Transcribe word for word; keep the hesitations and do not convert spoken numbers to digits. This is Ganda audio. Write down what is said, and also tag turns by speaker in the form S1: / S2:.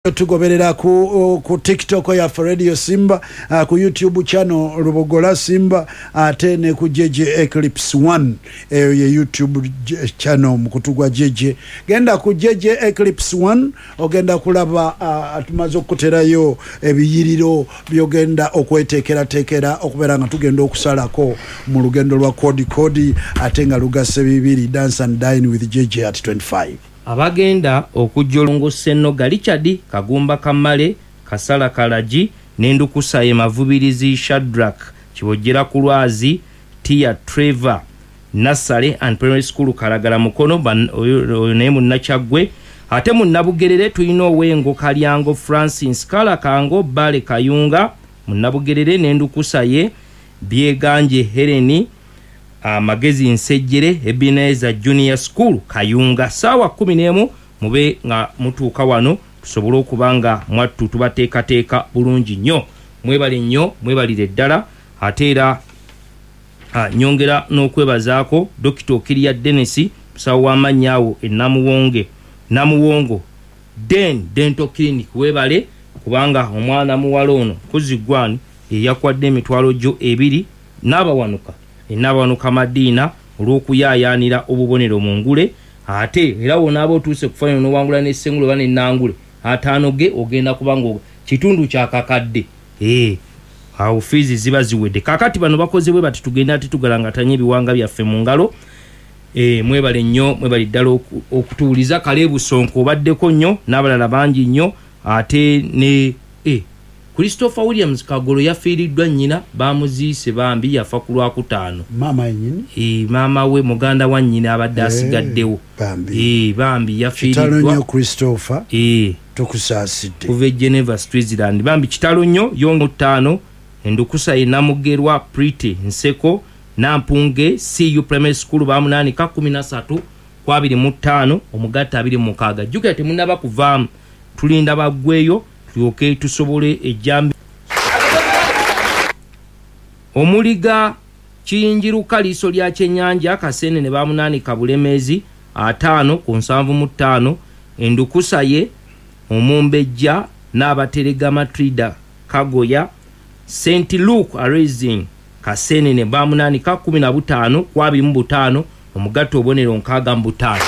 S1: Tugoberera ku, ku TikTok yaffe Radio Simba, uh, ku YouTube channel Lubogola Simba, ate ne ku J J Eclipse one. Eyo ye YouTube channel mukutu gwa J J. Genda ku J J Eclipse one, ogenda kulaba uh, tumaze okuterayo ebiyiriro byogenda okweteekerateekera okubeera nga tugenda okusalako mu lugendo lwa Kodi Kodi, ate nga lugase bibiri, Dance and Dine with J J at twenty-five.
S2: Abagenda okujja olongo: Senoga Richard, Kagumba Kamale, Kasala Kalagi n'endukusa ye Mavubirizi Shadrak Kibojera ku lwazi Tia Trevor Nursery and Primary School, Kalagala, Mukono. Oyo naye Munnakyaggwe. Ate Munnabugerere tulina Owengo Kalyango Francis Kalakango Bale Kayunga, Munnabugerere, n'endukusa ye Byeganje Heleni Amagezi Nsejjere, Ebeneza Junior School, Kayunga. Saawa kumi n'emu mube nga mutuuka wano, tusobole okuba nga mwattu tubateekateeka bulungi nnyo. Mwebale nnyo, mwebalire ddala. Ate era nyongera n'okwebazaako Dokita Okiria Denis, musawo w'amannya awo enamuwonge Namuwongo Den Dental Clinic. Weebale kubanga omwana muwala ono kuzigwani eyakwadde emitwalo gyo ebiri n'abawanuka enabawanuka Madiina olw'okuyaayaanira obubonero mu ngule. Ate era wonaaba otuuse kufaanana n'owangula n'essengule oba n'ennangule ataano ge, ogenda kubanga kitundu kyakakadde ee awo fiizi ziba ziwedde. Kaakati bano bakoze bwe bati, tugenda ate tugalangatanye ebiwanga byaffe mu ngalo. e, mwebale nnyo, mwebale ddala okutuwuliza. Kaleebusonko obaddeko nnyo n'abalala bangi nnyo. Ate ne e, Christopher Williams Kagolo yafiiriddwa nnyina, bamuziise bambi, yafa ku Lwakutaano.
S1: Maama yennyini?
S2: E, maama we, muganda wa nnyina abadde asigaddewo.
S1: Bambi.
S2: E, bambi.
S1: Kitalo nnyo.
S2: Yafiiriddwa.
S1: Christopher,
S2: e,
S1: tukusaasidde.
S2: Kuva e Geneva, Switzerland. Bambi kitalo nnyo. Yongo ttaano, endukusa ye Namugerwa Prity Nseko, Nampunge C U Primary School, bamunaanika kkumi na ssatu ku abiri mu ttaano, omugatta abiri mu mukaaga. Jjukira temunnaba kuvaamu, tulinda baggweyo tulyoke tusobole ejjambi. Omuliga Kiyinjiruka liiso lya kyennyanja Kasene ne bamunaanika Bulemeezi ataano ku nsanvu mu ttaano, endukusa ye Omumbejja n'Abaterega Matrida Kagoya, Saint Luke Arising, Kasene ne bamunaanika kkumi na butaano ku abiri mu butaano, omugatta obubonero nkaaga mu butaano.